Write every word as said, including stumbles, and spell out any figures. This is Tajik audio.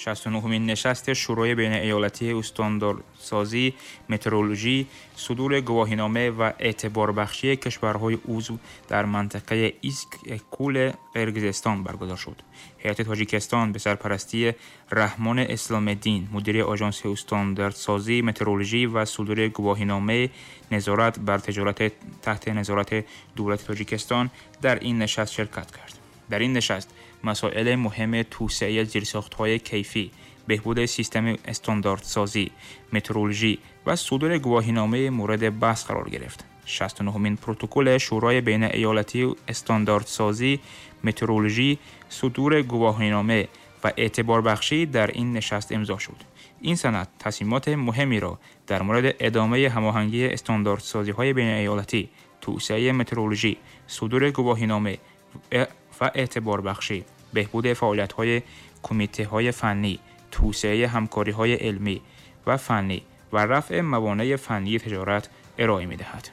шасту нуҳумин нишасти Шӯрои байнииёлатии устандартсозӣ, метрологӣ, судури гувоҳинома ва эътиборбахшии кишварҳои узв дар мантиқаи Иссык-Кули Қирғизистон баргузор шуд. Ҳайати Тоҷикистон бе сарпарастии Раҳмон Исломиддин, мудири Оҷонси устандартсозӣ, метрологӣ ва судури гувоҳиномаи назорат бар тиҷорат таҳти назорати давлати Тоҷикистон дар ин нишаст ширкат кард. Дар ин нишаст масоили муҳими тавсеаи зерсохтҳои кайфӣ, беҳбуди системаи стандартсозӣ, метрологӣ ва судури гувоҳиномаи мавриди баҳс қарор гирифт. шасту нуҳумин протоколи Шӯрои байнииёлатии стандартсозӣ, метрологӣ, судури гувоҳинома ва эътиборбахшӣ дар ин нишаст имзо шуд. Ин санад тасмимоти муҳимеро дар мавриди идомаи ҳамоҳангии стандартсозиҳои байнииёлатӣ, тавсеаи метрологӣ, судури гувоҳинома ва эътиборбахшӣ, беҳбуди фаъолиятҳои кумитаҳои фаннӣ, тавсеаи ҳамкориҳои илмӣ ва фаннӣ ва рафъи мавонеи фаннии тиҷорат ироа медиҳад.